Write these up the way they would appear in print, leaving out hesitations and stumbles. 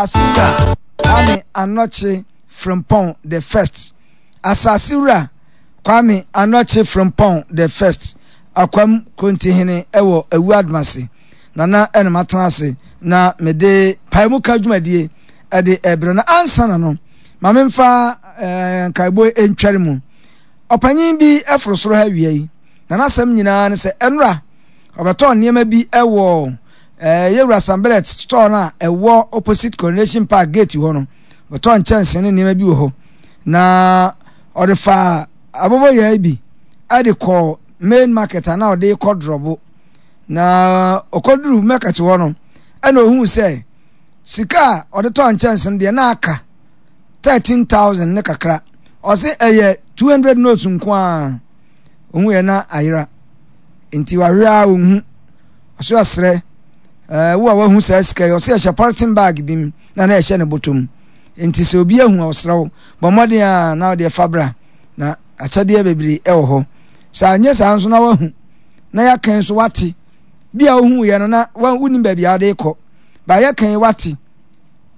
Asase Wura Kwame Anɔkye Frimpong the First. Asase Wura Kwame Anɔkye Frimpong the First, Akwam Krontihene wɔ Awu Adomase. Nana ɛna matena ase na mede paemuka dwumadie ɛde ɛbrɛ no. Ansa na no, ma memfa eh, nkaebɔ ntware mu. Ɔpanyin bi foro soro ha awia yi, na n'asɛm nyinaa ne sɛ ɛnora ɔbɛtɔɔ nneɛma bi wɔ eh, yɛwura Sambelet store no a ɛwɔ opposite Coronation Park gate hɔ no. Ɔbɛtɔɔ nkyɛnse ne nneɛma bi wɔ hɔ, na ɔde faa aboboyaa bi de kɔɔ main market a na ɔde kɔ drɔbo. Na ɔkɔduru market hɔ no, ɛna ohuu sɛ sika a ɔde tɔɔ nkyɛnse no deɛ na aka 13,000 ne kakra. Ɔse ɛyɛ 200 notes nko ara. Ohun yɛ na ayera. Nti wahwɛ a onhu. Ɔse ɔsrɛ ɛɛ wo a wahu saa sika yi, ɔse ɛhyɛ polythene bag bi mu na na ɛhyɛ ne bɔtɔ mu. Nti sɛ obi ahu a ɔsrɛ wo bɔ mmɔden a na ɔde ɛfa bra na akyɛdeɛ bebree ɛwɔ hɔ. Sɛ anyɛ saa nso na wahu na yɛaka nso wate. Bi a wohu yɛ no na wonim baabi a wode kɔ. Ba yɛka yi wate.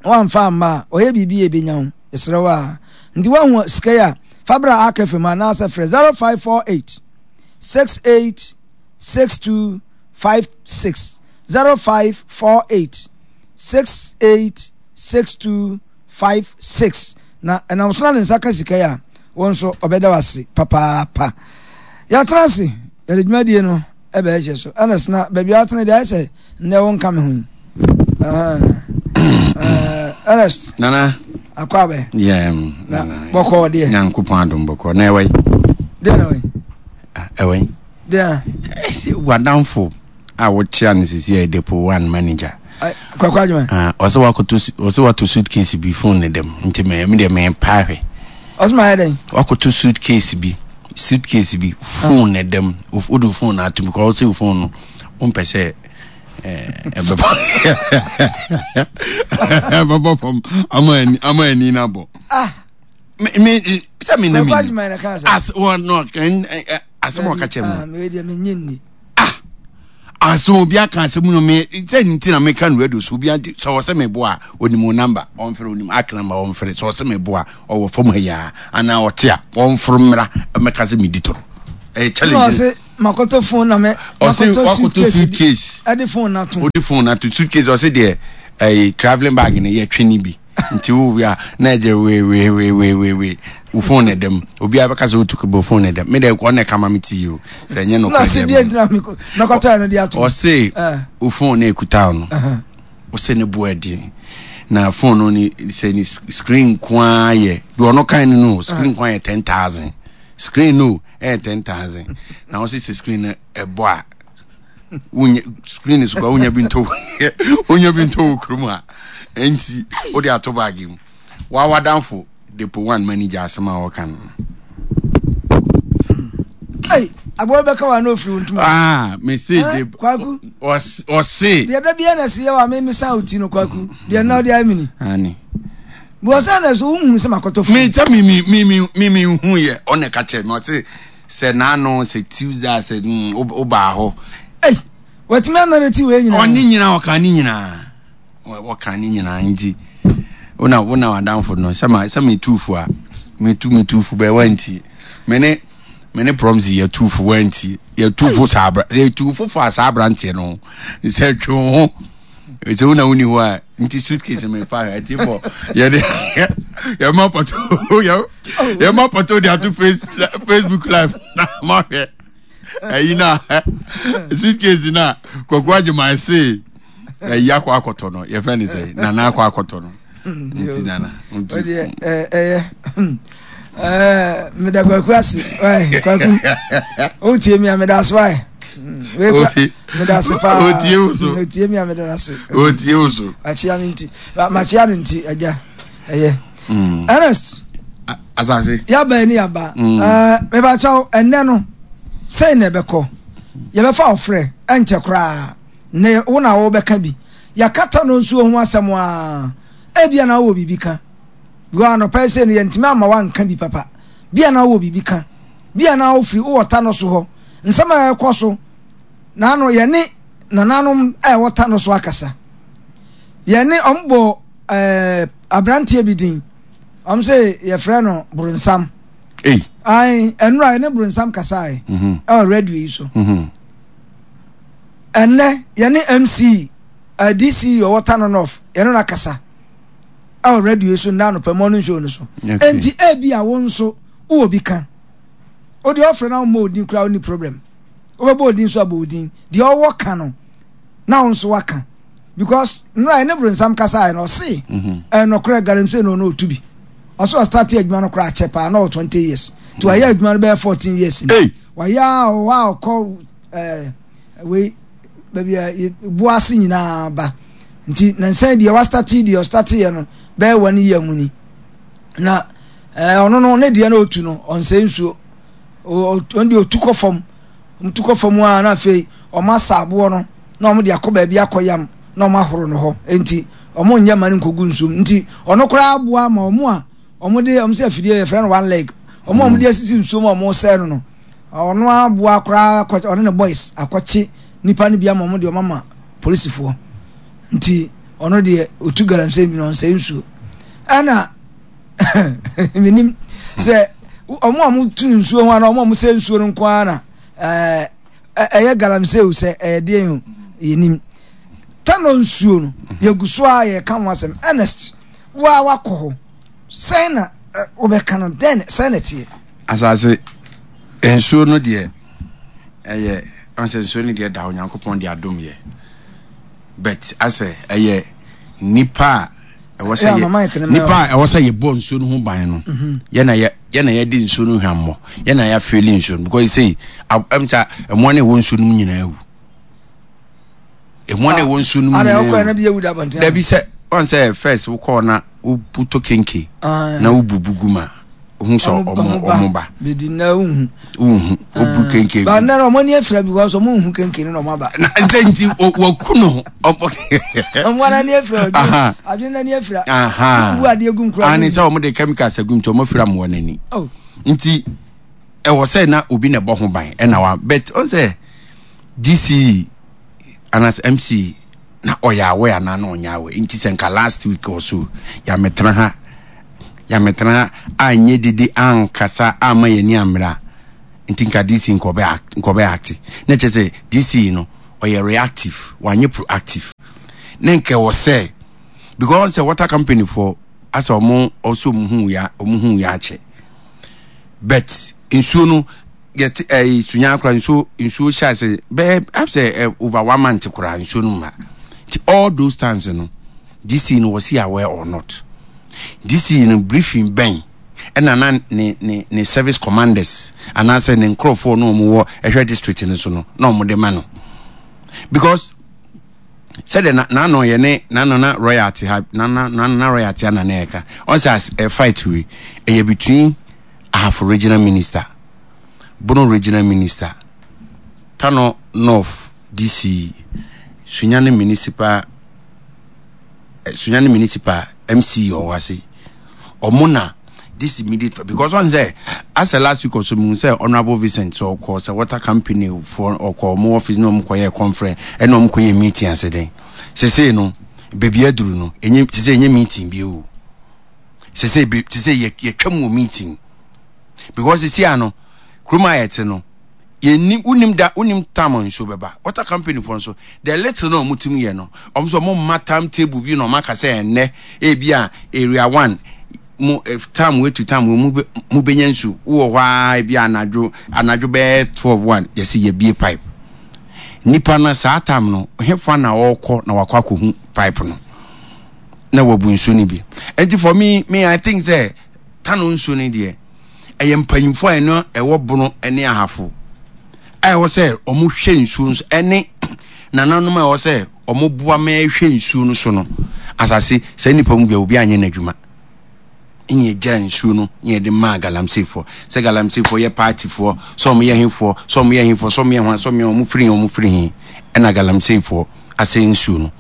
Woamfa amma a, ɔyɛ biribi a ebenya wo. Yɛsrɛ wo ara. Nti woahu sika yi a, fa bra Ark FM anaasɛ frɛ 0548 68 62 56. 0548 68 62 56. Na ɛnam so na ne nsa ka sika yi a, wo nso ɔbɛda wo ase papaapa. Yɛatena ase, yɛde dwumadie no ɛbɛhyɛ so. Ernest, na baabi a atena deɛ ayɛ sɛ nnɛ wo nka me ho yi. Ernest. Nana. Akɔ abɛ. Yeah. Na bɔkɔ deɛ. Nyankopɔn adom bɔkɔ. Na ɛwɔ yi. Deɛ na ɛwɔ yi. Ah, ɛwɔ yi. Deɛ. Wadamfo a wokyea no sisi yɛ depo one manager. Kwakwa adwuma. Ah, ɔsɛ wakoto ɔsɛ wato suitcase bi phone ne dɛm nti mɛ mi deɛ mɛ paa hwɛ. Ɔsɛ ma yɛ dɛn. Wakoto suitcase bi suitcase bi phone ne dɛm o de phone ato mu kɔ ɔsɛ phone no o mpɛ sɛ ɛbɛbɔ ɛbɛbɔ fam ama ani ama ani na bɔ. Ah. Me me sɛ mi na mi as wɔn no asɛm a ɔka kyerɛ mi. Ah asɛm obi aka asɛm no me sɛ nti na meka no radio so obi ante sɛ ɔsɛ me boa onim wo number ɔmfrɛ onim ak number ɔmfrɛ sɛ ɔsɛ me boa ɔwɔ fam ha yi anaa ɔte a ɔmforo mmra mɛka sɛ medi toro ɛyɛ challenge Makoto phone na me. Ɔsi wakoto suitcase. Ɛde phone na to. Ɔde phone na to suitcase ɔsi deɛ ɛyɛ travelling bag no yɛ twe ne bi nti wo wia na ɛgye wee wee wee wee wee wee wo phone na ɛdɛm obiara bɛka sɛ wotu kebo phone na ɛdɛm me deɛ ɔna ɛka ma me ti yi o sɛ ɛnyɛ no kɔ ɛdɛm. Deɛ ntina mi mɛkɔtɔ ɛno de ato. Ɔsi wo phone na ekuta no ɔsɛ ne bo ɛden na phone no ni sɛ ne screen nkoa yɛ deɛ ɔno kan no no screen nkoa yɛ 10,000 screen no. Ɛyɛ 10,000 na wɔsi sɛ screen no ɛbɔ a wonya screen so kora wonya bi ntɔ wonya bi ntɔ wɔ kurom a nti wode ato baage mu wawadanfo depo one manager asɛm a wɔka no. Hey, aboa bɛka wa na ofiri wo ntoma. Ah, me se de kwaku. Ɔse. Deɛ da bia na ɛsi yɛ wa me me san oti no kwaku. Deɛ na ɔde ayɛ mini. Ani. Because sɛ na so wohunu sɛ makɔtɔ fon. Me sɛ me me me me me me hu yɛ ɔna ɛka kyerɛ me ɔse sɛ n'ano sɛ Tuesday a sɛ mm wobaa hɔ. Ei watumi anareti wei nyinaa. Ɔne nyinaa ɔka ne nyinaa ɔka ne nyinaa nti wona wona wadamfo no sɛ ma sɛ me tuufo a me tu me tuufo bɛɛ wanti me ne me ne promise yɛ tuufo wanti yɛ tuufo saa abra yɛ tuufo fa saa abranteɛ no sɛ twe ho. Ɛsɛ wo na woni hɔ a nti suitcase me fa ɛti fɔ yɛde yɛma pɔtɔ yɛma pɔtɔ de ato face Facebook live na ma hwɛ ɛyi na suitcase na kɔkɔ agyema ɛse ɛyi akɔ akɔtɔ no yɛfrɛ ne sɛ nana akɔ akɔtɔ no nti nana nti ɛyɛ meda kwaku ase kwaku wotie mi a meda ase wae meda ase paa otie wo so otie mi a meda ase otie wo so akyia no nti makyia no nti agya ɛyɛ mm. Ernest asase yaba ni yaba mm. mebakyɛw ɛnnɛ no sɛn na ɛbɛkɔ yɛbɛfa ɔfrɛ ɛnkyɛ koraa ne wo na wobɛka bi yɛakata no nsuo ho asɛm a ebia na wowɔ biribi ka because anɔpa yi sɛ no yɛntumi amma woanka bi papa bia na wowɔ biribi ka bia na wofiri wowɔ ta no so hɔ nsɛm a ɛkɔ so na ano yɛne nananom a ɛwɔ ta no so akasa. Yɛne wɔn bɔ ɛɛ. Aberanteɛ bi din, wɔn sɛ yɛfrɛ no Bronsam. Ei. Ae, ɛnora yɛne Bronsam kasae mhm. ɛwɔ radio yi so. Mhm. Ɛnnɛ yɛne MC, uh, DC ɔwɔ Tano North, yɛne no akasa ɛwɔ radio yi so nnɛ anɔpa morning show no so. Enti ebi a wo nso wowɔ bi ka. Wo deɛ ɔfrɛ na wommɔ odin koraa wonni problem. Wobɛbɔ odin nso abɔ odin. Deɛ ɔwɔ ka no na wo nso waka. Because nnora yɛne Bronsam kasaeɛ no ɔse mhm. ɛyɛ nɔkorɛ galamsey no ɔno ɔtu bi. Ɔse ɔstarte adwuma no koraa kyɛ paa na ɔwɔ 20 years. Nti wayɛ mhm. adwuma no bɛyɛ 14 years ni. Wayɛ a ɔwɔ a ɔkɔ ɛɛ wei baabi a bo ase nyinaa ba. Nti nansan deɛ wastarte deɛ ɔstarte yɛ no bɛyɛ one year mu ni. Na ɛɛ ɔno no ne deɛ na ɔtu no ɔnsɛ nsuo. Ɔno deɛ ɔtu kɔ fam. Wɔtu kɔ fam a na afei wɔn asa aboɔ no na wɔn de akɔ baabi akɔ yam na wɔn ahoro no hɔ. Nti wɔn nyɛ ma no nkɔgu nsuo mu. Nti ɔno koraa aboa ma wɔn a wɔn de wɔn sɛ afidie yɛfrɛ no one leg. Wɔn a wɔn de asisi nsuo mu a wɔn resɛe no no ɔno aboa koraa akɔ ɔne ne boys akɔkye nipa no bi ama wɔn de wɔn ama polisifoɔ. Nti ɔno deɛ otu galamsey bi na ɔnsɛe nsuo. Ɛna menim sɛ wɔn a wɔtu nsuo ho anaa wɔn a wɔsɛ nsuo no nko ara na ɛɛ ɛyɛ galamsey o sɛ ɛyɛ deɛ o yɛnim tano nsuo no yɛgu so a yɛka ho asɛm Ernest wo a wakɔ hɔ sɛn na wobɛka no dɛn sɛn na ɛteɛ. Asase nsuo no deɛ ɛyɛ ɔsɛ nsuo no deɛ da Onyankopɔn de adom yɛ but asɛ ɛyɛ nipa a ɛwɔ sɛ yɛ nipa a ɛwɔ sɛ yɛbɔ nsuo no ho ban no mhm. yɛ na yɛ yɛ na yɛde nsuo no hwammɔ yɛ na yɛafeeli nsuo no because sei ɛm sɛ ɛmoa no ɛwɔ nsuo no mu nyinaa awu ɛmoa no ɛwɔ nsuo no mu nyinaa awu dabi sɛ ɔn sɛ first wokɔɔ na wotɔ kenke na wobubu gu ma ohun sɛ ɔmo ɔmo ba. Bedi na wohu. Wohu obu ah. kenke. Ba nna ɔmo ani afira because ɔmo nhu kenke no na ɔmo aba. Na nse nti wɔku no. Ɔmo ara ani afira ɔdwe adwene n'ani afira. Wobu adeɛ gu nkura. Ani sɛ ɔmo de chemicals agu nti ɔmo afira mo wɔ n'ani. Oh. Nti ɛwɔ sɛ na obi na ɛbɔ ho ban ɛna wa but ɔn sɛ DCE anaasɛ MC na ɔyɛ awɛ anaa na ɔnyɛ awɛ nti sɛ nka last week or so yàmɛtena ha. Nyametra anyɛ dede ankasa amma yɛn ani ammere a, nti nka DC nka ɔbɛ nka ɔbɛ acte. Na kyerɛ sɛ DC no ɔyɛ reactive, wanyɛ proactive. Na nka ɛwɔ sɛ because sɛ water company foɔ asɛ ɔmo ɔsɛ ɔmo hu ya ɔmo hu ya akyɛ. But nsuo no yɛte ɛyi sunya koraa nsuo nsuo hyɛ ase bɛyɛ sɛ ɛ over one month koraa nsuo no mma. Nti all those times no DC no was he aware or not? DC no briefing bɛn ɛna na ne ne ne service commanders anaasɛ ne nkurɔfoɔ no wɔn wɔ ɛhwɛ district no so no na wɔn de ma no because sɛdeɛ na n'ano yɛ ne n'ano na royal te ha na na na na royal te ha na na ɛka ɔn sɛ as ɛ fight wei ɛyɛ between Ahafo regional minister Bono regional minister Tano North DC Sunyani municipal Sunyani municipal MC ɔwɔ ase ɔmo na this immediate because ɔn sɛ asɛ last week ɔsɔ mu sɛ honourable Vincent sɛ ɔkɔ sɛ water company for ɔkɔ ɔmo office na ɔmo kɔ yɛ conference ɛna ɔmo kɔ yɛ meeting ase den sese no beebi aduru no enye sese enye meeting bi o sese bi sese yɛ yɛtwa mu wɔ meeting because sese ano kurom a yɛte no. Yɛnnim, wonim da, wonim tam a nsuo bɛba. Water company foɔ nso, the little na wɔn tumi yɛ no, wɔn nso wɔn mma time table bi na wɔn aka sɛ ɛnnɛ, ebi a area one, mo eh, tam wei to tam wei mo bɛ mo bɛnya nsuo. Wowɔ hɔ ara ebi a anadwo anadwo bɛyɛ 12 one yɛsi yɛbie pipe. Nipa no saa tam no, hefa na ɔrekɔ na wakɔ akɔhu pipe no na wabu nsuo no bi. Nti for me, me I think sɛ tano nsuo no deɛ. ɛyɛ mpanyimfo a ɛno ɛwɔ bono ne ahafo a ɛwɔ sɛ wɔhwɛ nsuo no so ɛne nananom a ɛwɔ sɛ wɔboa ma ɛhwɛ nsuo no so no asase saa nnipa mu bia obi anyɛ n'adwuma ɛne ɛgya nsuo no ne yɛde maa galamseyfoɔ sɛ galamseyfoɔ yɛ paatifoɔ sɛ wɔn yɛ hefoɔ sɛ wɔn yɛ hefoɔ sɛ wɔn yɛ hwan sɛ wɔn yɛ wɔn firi he wɔn firi he ɛna galamseyfoɔ asɛ nsuo no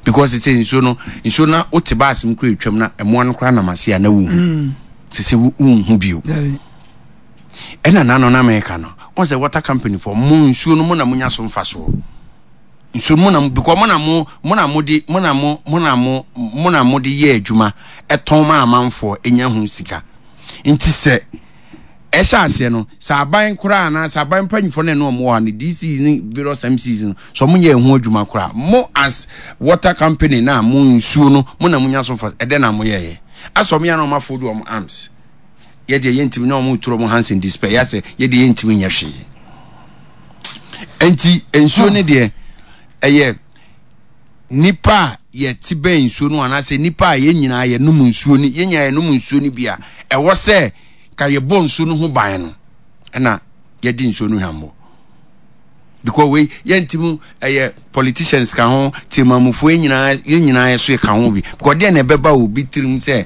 because sɛ nsuo no nsuo no wote baase mu kura etwam na ɛmoa no koraa nam ase a na wohu mm. sɛ sɛ wonhu bio ɛna nano na meka no wɔn sɛ water company fɔ mo nsuo no mo na monya so mfasoɔ. Nso mo na because mo na mo mo na mo de mo na mo mo na mo mo na mo de yɛ adwuma ɛtɔn ma amanfoɔ enya ho sika. Nti sɛ ɛhyɛ aseɛ no sɛ aban koraa anaa sɛ aban mpanyinfoɔ no ɛne wɔn wɔ ha no DCs ne various MCs no sɛ wɔn nyɛ ɛho adwuma koraa mo as water company na mo nsuo no mo na mo nya so fa ɛdɛ na mo yɛyɛ asɛ wɔn yɛ na wɔn afold wɔn arms yɛ deɛ yɛntumi na wɔn turo wɔn hands in despair yɛ asɛ yɛ deɛ yɛntumi nyɛ hwee nti nsuo no deɛ ɛyɛ nipa a yɛte bɛn nsuo no anaasɛ nipa a yɛn nyinaa yɛnom nsuo no yɛn nyinaa yɛnom nsuo no bi a ɛwɔ sɛ ka yɛbɔ nsuo no ho ban no ɛna yɛde nsuo no hwammɔ because wei yɛntumi ɛyɛ politicians ka ho temamufoɔ yɛn nyinaa yɛn nyinaa yɛ so ka ho bi because deɛ na ɛbɛba obi tirim sɛ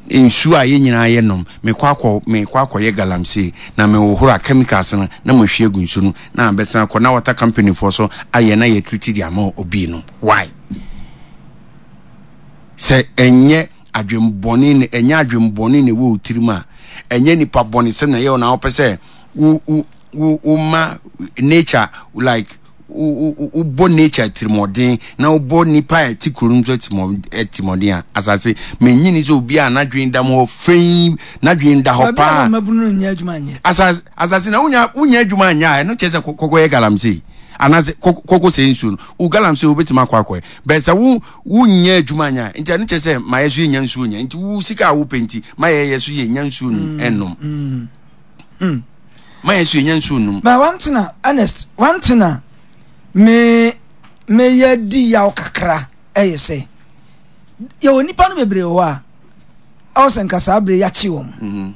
nsuo a yɛn nyinaa yɛ nom mekɔ akɔ mekɔ akɔyɛ galamsey na mehohoro a chemicals no na mahwie agu nsuo no na abɛsan akɔ na water company foɔ so ayɛ na yɛ treat de ama obi no why sɛ ɛnyɛ adwembɔne na ɛnyɛ adwembɔne na ɛwɔ wo tirim a ɛnyɛ nipa bɔne sɛm na ɛyɛ wo na wopɛ sɛ wo wo wo wo ma nature like wobɔ nature tirimɔden na wobɔ nipa a ɛte kuro no nso tirimɔden a asase menyini sɛ obi a n'adwene da mu hɔ fɛn n'adwene da hɔ paa asase asase na wonya wonya adwuma nyɛ a ɛno kyerɛ sɛ kɔkɔ yɛ galamsey anaasɛ kɔkɔ sɛ nsuo no wo galamsey wobɛtumi akɔ akɔɛ bɛn sɛ wo wonyɛ adwuma nyɛ a nti ɛno kyerɛ sɛ ma yɛ so yɛnya nsuo nyɛ nti wo sika a wopɛ nti ma yɛyɛ so yɛnya nsuo ɛnom mm. mm. Ma yɛ so yɛnya nsuo nom. But one thing a Ernest, one thing a me meyɛ di yaw kakra ɛyɛ sɛ yɛwɔ nipa no bebree wɔ hɔ a ɛwɔ sɛ nka saa bere yɛakye wɔn. Mm-hmm.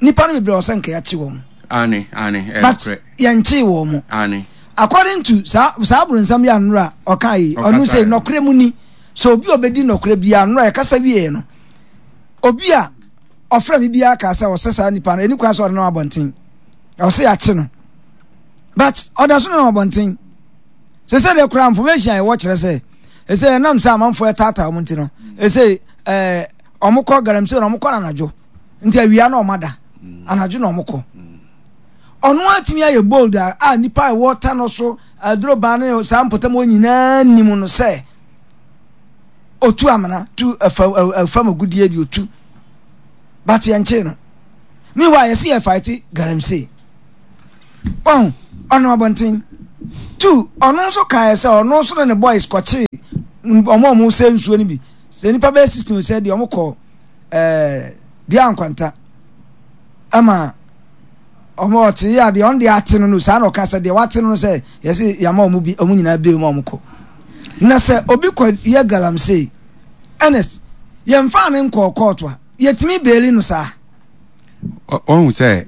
Nipa no bebree wɔ sɛ nka yɛakye wɔn. Ane, ane, But yɛnkyee wɔn. Ane. According to saa saa abronsam yɛ anora ɔka yi, ɔno sɛ nɔkorɛ mu ni sɛ obi a ɔbɛdi nɔkorɛ biara anora yɛkasa wieɛ no obi a ɔfrɛ me biara kaa sɛ ɔsɛ saa nipa no ɛni kwan sɛ ɔde nam abɔnten ɔsɛ yɛakye no but ɔda so nenam abɔnten sɛ sɛ deɛ koraa information a ɛwɔ kyerɛ sɛ ɛsɛ ɛnam sɛ amanfoɔ ɛtaataa wɔn nti no ɛsɛ ɛɛ wɔn kɔ galamsey na wɔn kɔ anadwo nti awia na wɔn ada anadwo na wɔn kɔ ɔno atumi ayɛ bold a a nipa a ɛwɔ ta no so aduro ban ne saa mpɔtam hɔ nyinaa nim no sɛ otu amena tu ɛfa ɛfam agudie bi otu but yɛn kyee no meanwhile yɛsi yɛ fight galamsey wɔn ɔno abɔnten tu ɔno nso kaeɛ sɛ ɔno nso ne ne boys kɔkyee wɔn a wɔn sɛ nsuo no bi sɛ nipa bɛyɛ 16 sɛ deɛ wɔn kɔ ɛɛ dua nkwanta ɛma wɔn ɔte yɛ adeɛ ɔno deɛ ate no no saa na ɔka sɛ deɛ wate no no sɛ yɛsi yɛama wɔn bi wɔn nyinaa bie mu a wɔn kɔ na sɛ obi kɔ yɛ galamsey Ernest yɛnfaa no nkɔɔ kɔɔto a yɛtumi beeli no saa. Ɔhu sɛ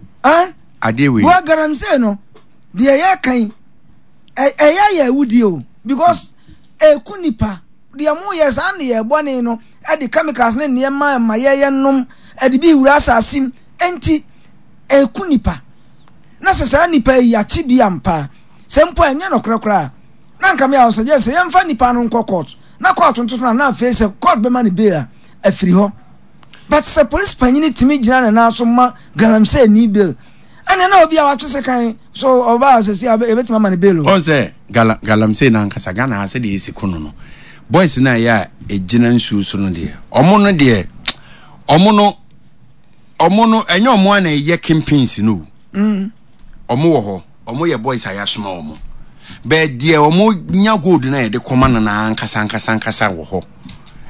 adeɛ wei. Wɔ galamsey no deɛ yɛka yi ɛyɛ yɛ awudie o because ɛku nipa deɛ mo yɛ saa ne yɛ bɔne no ɛde chemicals ne nneɛma ɛma yɛyɛ nom ɛde bi wura asase mu nti ɛku nipa na sɛ saa nipa yi akye bi ampa sɛ mpo ɛnyɛ nɔkorɛ koraa na nka me a ɔsɛ gye sɛ yɛmfa nipa no nkɔ court na court ntoto no na afei sɛ court bɛma no bail a afiri hɔ but sɛ police panyini tumi gyina ne nan so ma galamsey ni bail ɛnna na obi a watwe sekan so ɔbaa sɛ si a yɛbɛtumi ama no bail o. Ɔn sɛ gala galamsey no ankasa Ghana ha sɛdeɛ yɛsi ko no no boys no a ɛyɛ a ɛgyina nsuo so no deɛ ɔmo no deɛ ɔmo no ɔmo no ɛnyɛ ɔmo a na ɛyɛ kingpins no o. Mm. Ɔmo wɔ hɔ, ɔmo yɛ boys a yɛasoma ɔmo. Bɛɛ deɛ ɔmo nya gold no a yɛde kɔma no na ankasa ankasa ankasa wɔ hɔ.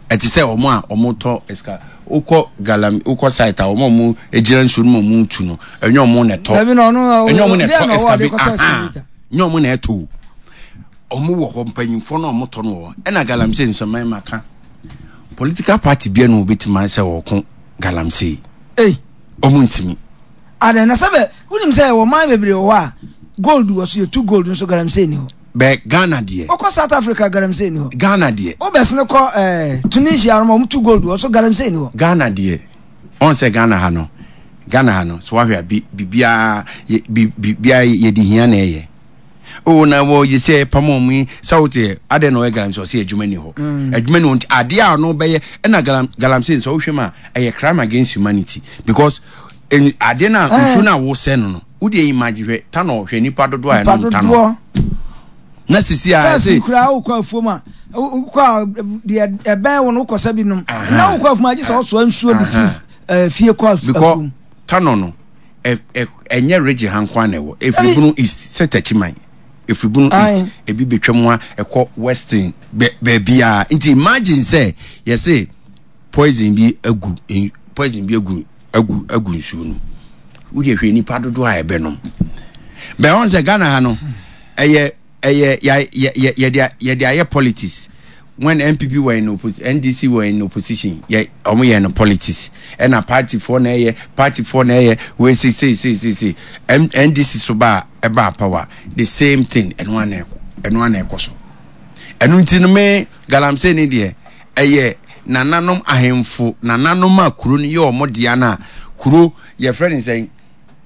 Ɛte sɛ ɔmo a ɔmo tɔ ɛsika wokɔ galam wokɔ site a ɔmo a ɔmo gyina nsuo no mu ɔmo tu no ɛnyɛ ɔmo na ɛtɔ. Ɛnyɛ ɔmo na ɛtɔ ɛskave aha nyɛ ɔmo na ɛtɔ o. Ɔmo wɔ hɔ mpanyinfoɔ no a ɔmo tɔ no wɔ hɔ ɛna galamsey nso mɛma ka political party bia na obetumi sɛ ɔko galamsey. Ei. Ɔmo ntumi. Adɛn na sɛ bɛ wonim sɛ wɔ man bebree wɔ hɔ a gold wɔ so yɛtu gold nso galamsey ni hɔ. Bɛ Ghana deɛ. Wokɔ South Africa galamsey ni hɔ. Ghana deɛ. Wobɛsene kɔ eh, Tunisia no ma wɔn tu gold wɔ so galamsey ni hɔ. Ghana deɛ. Ɔn sɛ Ghana ha no Ghana ha no so wahwɛ a bi biribiara yɛ bi biribiara yɛde hia na ɛyɛ. Oh na wɔ yɛ sɛ ɛpam wɔn yi sɛ wote yɛ adɛn na ɔyɛ galamsey ɔsɛ adwuma ni hɔ mm. adwuma ni hɔ nti adeɛ a ɔno bɛyɛ ɛna galam galamsey nsɛ wohwɛ mu a ɛyɛ crime against humanity because adeɛ no a eh. nsuo no a wosɛ no no wodeɛ imagine hwɛ tanɔ hwɛ nipa dodoɔ a ɛnom tanɔ. Na sisi a First koraa wokɔ afuom a wokɔ a deɛ ɛbɛn wo no wokɔ sɛ bi nom. Na wokɔ afuom a gye sɛ ɔsoa nsuo de firi fie kɔ afuom. Because Tano no ɛnyɛ region ha nko ara na ɛwɔ. Ɛfiri Bono East sɛ Takyiman. Ɛfiri Bono East ebi bɛtwa mu a ɛkɔ Western baabiara. Nti imagine sɛ yɛse poison bi agu poison bi agu agu agu nsuo no wodeɛ hwɛ nipa dodoɔ a ɛbɛnom bɛn wɔn sɛ Ghana ha no ɛyɛ ɛyɛ yɛ yɛ yɛde yɛde ayɛ politics when NPP were in opposition NDC were in opposition yɛ wɔn yɛ no politics ɛna party foɔ na ɛyɛ party foɔ na ɛyɛ wei sei sei sei sei sei NDC so ba ɛba power the same thing ɛno ana ɛkɔ ɛno ana ɛkɔ so ɛno nti no me galamsey ne deɛ ɛyɛ nananom ahemfo nananom a kuro no yɛ wɔn dea no a kuro yɛfrɛ ne sɛn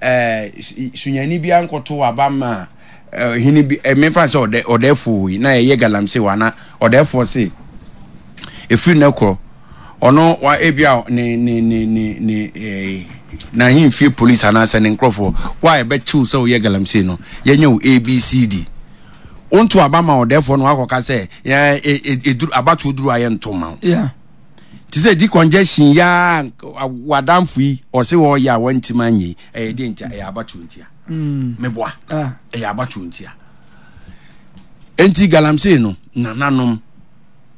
ɛɛ sunyani bi ankɔto aba ma ɛɛ hene bi ɛɛ mefa sɛ ɔdɛ ɔdɛɛfoɔ yi na ɛyɛ galamsey wɔ ana ɔdɛɛfoɔ se efiri ne korɔ ɔno wa ebi a ne ne ne ne ne ɛɛ n'ahemfie polisi anaasɛ ne nkorɔfoɔ wa ɛbɛkyew sɛ ɔyɛ galamsey no yɛnyɛ wo abcd wonto aba ma ɔdɛɛfoɔ no wakɔka sɛ yɛn eduru abatoɔ duru ayɛ nto ma wo te sɛ di congestion yaa wadamfo yi ɔse ɔyɛ a wantim anyɛ yi ɛyɛ deɛ ntia ɛyɛ abatoɔ ntia mm. meboa ah. ɛyɛ abatoɔ ntia enti galamsey no nananom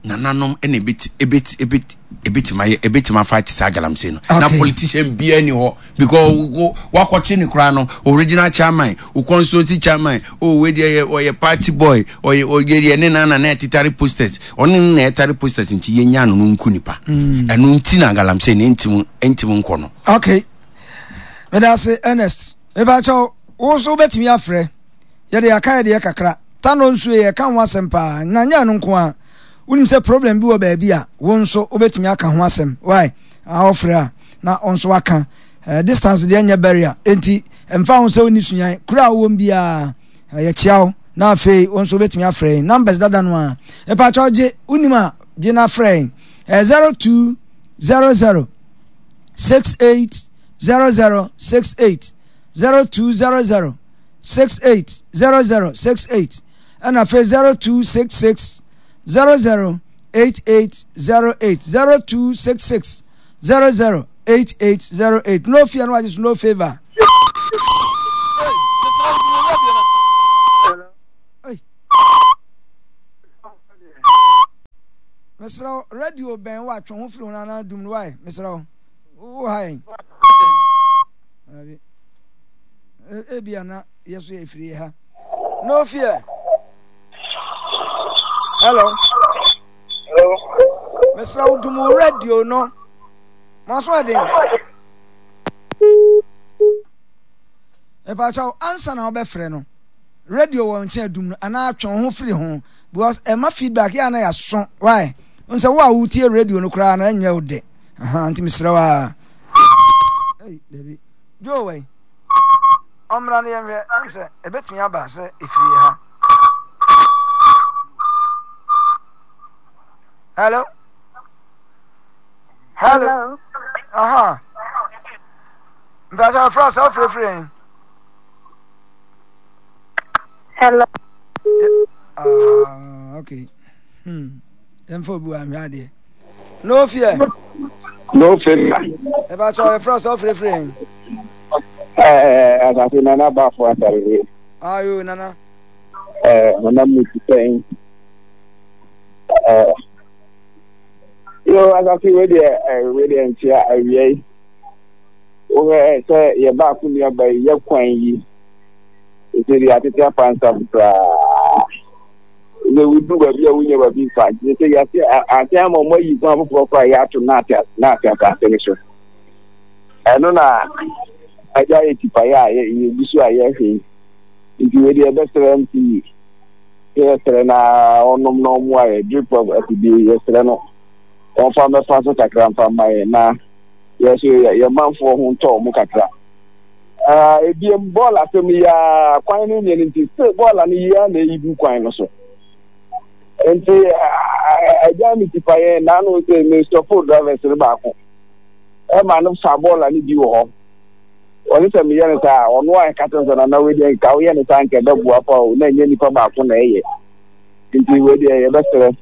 nananom ɛna ebeti ebeti ebeti ebetumi ayɛ ebetumi afa te saa galamsey no na politician biara ni hɔ because wo wakɔkye ne koraa no original chairman wo constituency chairman oh wei deɛ yɛ ɔyɛ party boy ɔyɛ ɔyɛ deɛ ne nana na ɛtetare posters ɔne ne na ɛtare posters nti yɛnya no no nku nipa mm. ɛno nti na galamsey ne ntim ntim nkɔ no. Okay medase Ernest mepakyɛw wo nso wobɛtumi afrɛ yɛde aka yɛde yɛ kakra tano nsuo yɛ ka ho asɛm paa na nyɛ no nko a wonim sɛ problem bi wɔ baabi a wo nso wobɛtumi aka ho asɛm why awofrɛ a na wo nso waka eh, distance deɛ nyɛ barrier enti ɛmfa ho sɛ wonni sunyan kuro a wowɔ biara eh, yɛkyia wo na afei wo nso wobɛtumi afrɛ yɛn numbers dada no a mepakyɛw gye wonim a gye na frɛ yɛn eh, 0200 68 00 68 0200 68 00 68 ɛna afei 0266 00 8808 0266 00 8808 no fear no agye so no favor. Mesrɛ wo radio bɛn wo atwe ho firi ho anaa dum no wae mesrɛ wo wo ha yɛn ebia na yɛ so yɛ firi ha no fear hello Hello. Mesrɛ wo dum wo radio no. Maso ɛden. Mepakyɛw ansa na wobɛfrɛ no. Radio wɔ nkyɛn dum no anaa twe wo ho firi ho because ɛma feedback yɛ ana yɛaso why n sɛ wo a wotie radio no koraa na ɛnyɛ wo dɛ aha nti mesrɛ wo a ei dabi Joe wai ɔmmra no yɛnhwɛ ɛm sɛ ɛbɛtumi aba sɛ ɛfiri yɛ ha Hello. Hello. Hello. Aha. Mpɛsɛ ɔfrɛ sɛ ɔfrɛfrɛ yɛn. Hello. Ah, okay. Hmm. Yɛmfa obi wɔ ahwɛ adeɛ. No fear. No fear. Ɛbɛ kyɛ ɔfrɛ sɛ ɔfrɛfrɛ yɛn. Ɛɛ asase nana baafo asare. Ayo nana. Ɛɛ honam mu ti sɛn. Ɛɛ yo asase wei deɛ ɛɛ wei deɛ nkyea awia yi. Wohwɛ sɛ yɛ baako nuaba yi yɛ kwan yi. Ɛsɛ deɛ atete apansam koraa. Sɛ wodu baabi a wonya baabi mfa nti sɛ yɛase ase ama wɔn ayi kwan foforɔ koraa yɛato naate naate asase no so. Ɛno na agya yɛ tipaeɛ a yɛgu so a yɛhwɛ yi. Nti wei deɛ yɛbɛsrɛ MC sɛ yɛsrɛ na ɔnom na ɔmmoa yɛ drip of afidie yɛsrɛ no ɔmfa mmɛfa so kakra mfa mma yɛn na yɛ so yɛ manfoɔ ho ntɔ ɔmo kakra. Uh, ebiem bɔɔl asɛm yi a kwan no nyɛ no nti sɛ bɔɔl no yi a na ɛyi gu kwan no so nti agya me tipa yɛn naano sɛ mestɔpo drivers no baako ɛma no fa bɔɔl no bi wɔ hɔ Ɔse sɛ meyɛ no saa a, ɔno a ɛka kyerɛ me sɛ nana wei deɛ nka woyɛ no saa nka ɛbɛboa pa o, na ɛnyɛ nipa baako na ɛyɛ. Nti wei deɛ yɛbɛsrɛ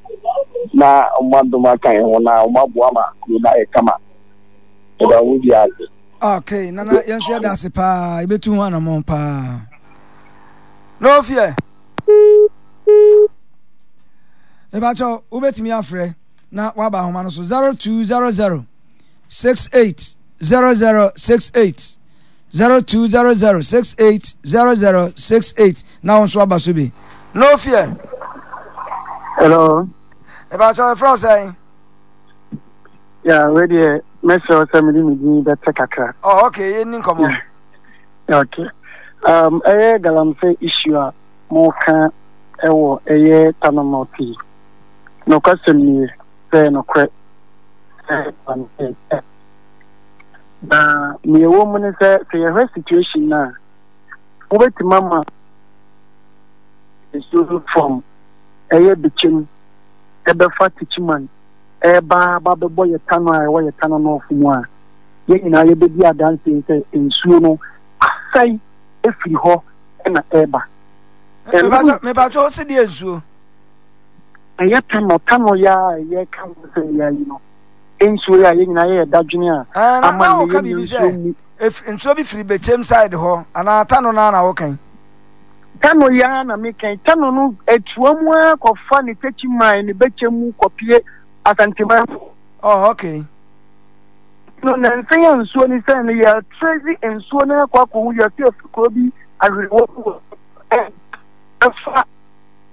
na wɔn adom aka yɛn ho na wɔn aboa ma kuro no ayɛ kama. Yɛda wɔn biara ase. Okay, nana yɛn nso yɛda ase paa yɛbɛtu ho anamɔn paa. No fear. Ebakyɛw wobɛtumi afrɛ na waba ahoma no so 0200 68 0068 0200 68 0068 na wo nso aba so bi. No fear. Hello. Ebakyɛw ɛfrɛ wo sɛn? Yeah, wei deɛ mɛsrɛ wo sɛ mede me din bɛtɛ kakra. Oh, okay, yɛnni nkɔmmɔ. Okay. Um, ɛyɛ galamsey issue a moka ɛwɔ ɛyɛ Tano North yi. Nokwasɛm nie sɛ nokorɛ sɛ galamsey na nea ɛwɔ mu ne sɛ sɛ yɛhwɛ situation no a wobɛtumi ama nsuo no fam ɛyɛ bikyɛm ɛbɛfa tikyiman ɛreba aba abɛbɔ yɛn tano a ɛwɔ yɛn tano nɔɔfo mu a, yɛn nyinaa yɛbɛdi adanseɛ sɛ nsuo no asɛe afiri hɔ na ɛreba. Mepakyɛ wo se deɛ nsuo? Ɛyɛ tano, tano yɛ a ɛyɛ ka ho sɛ yɛ ayi no. Nsuo yɛ a yɛn nyinaa yɛyɛ dadwene a ama nnɛ yɛnya nsuo mu. Nsuo bi firi bɛkyɛm side hɔ anaa tano no ara na wokan? Tano yi ara na meka yi. Tano no ɛtoa mu ara kɔfa ne Techiman ne Bɛkyɛ mu kɔpie Asanteman mu. Oh, okay. No, nansa yi a nsuo no sɛn no, yɛtrɛsi nsuo no akɔ akɔhu yɛte afi kuro bi ahwerewɔ bi wɔ ɛfa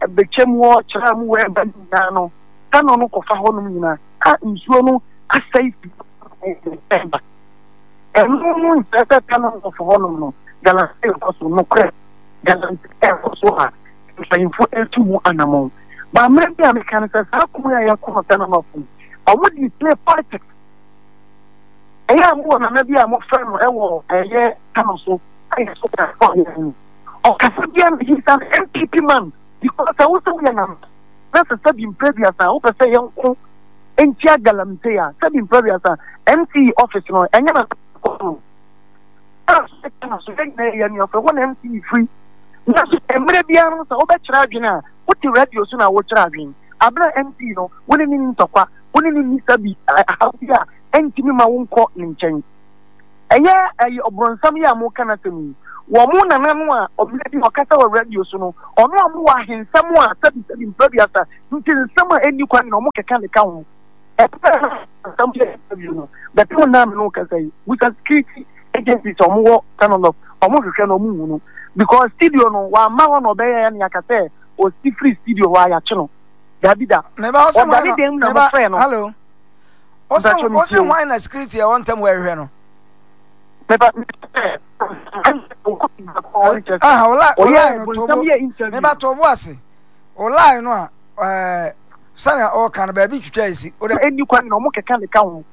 Bɛkyɛ mu hɔ kyerɛ mu wɔ ɛba no nyinaa no, Tano no kɔfa hɔnom nyinaa a nsuo no asɛe fi ɛba. Ɛno no nkyerɛ sɛ Tano North hɔnom no, galamsey rekɔ so. Nokorɛ, galamsey rekɔ so a mpanyimfo retu mu anammɔn. Ba mmerɛ bi a meka no sɛ saa ko yi a yɛko no Tano North no, wɔn de play politics. Ɛyɛ a mowɔ nana bi a mofrɛ no ɛwɔ ɛyɛ Tano so a yɛ so ka ɔyɛ no. Ɔkasa biara no he's an NPP man because sɛ wo sɛ woyɛ nana na sɛ sɛbi mprɛ biasa wopɛ sɛ yɛnko ntia galamsey a sɛbi mprɛ biasa MCE office no ɛnyɛ na kɔ no na so yɛn nyinaa yɛ anuafo ɛhɔ na MCE firi nanso mmerɛ biara no sɛ wobɛkyerɛ adwene a wote radio so na wokyerɛ adwene abere a MCE no wo ne ne ni ntɔkwa wo ne ne ni sabi ahaw bi a ɛntumi ma wonkɔ ne nkyɛn ɛyɛ ɛyɛ ɔbrɔnsam yi a moka no asɛm yi wɔn mo nana no a ɔmmerɛ bi ɔkasa wɔ radio so no ɔno a mowɔ ahensɛm a sɛbi sɛbi mprɛ biasa Nti nsɛm a ɛnni kwan na wɔkeka de ka ho. Ɛberɛ a nsɛm yɛ interview no, bɛpem nna a me ne wo kasa yi, busa security agencies a wɔwɔ Tanolop, wɔhwehwɛ no wɔnhu no. Because studio no, wamma hɔ na ɔbɛyɛɛ ne aka sɛ ɔsi firi studio hɔ a yɛakye no. Daabi da. Meba ɔsɛ Ɔda ne dan mu na mofrɛ no. Hello. Ɔsɛ ɔsɛ hwan na security ɛwɔ ntam hɔ ɛhwehwɛ no. Meba Aha, ɔla ɔla no tobo. Meba tobo ase. O line no a ɛɛ sɛnea ɔreka no baabi twitwa esi. O de. Ɛnni kwan na wɔn keka de ka ho.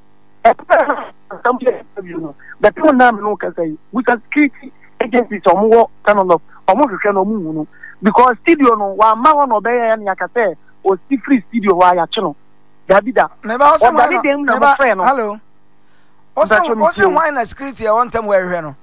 Ɛbɛrɛ na nsɛm yɛ interview no bɛpem nna a me ne wo kasa yi busa security agencies a wɔn wɔ Tanolop wɔn hwehwɛ no wɔn nhu no because studio no wamma hɔ na ɔbɛyɛ ne aka sɛ ɔsi firi studio hɔ a yɛakye no daabi da Meba ɔsɛ ɔda ne dan mu na meba mofrɛ no hello. Ɔsɛ mpakyɛ ɔsɛ metie wo. hwan na security ɛwɔ ntam hɔ ɛhwehwɛ no.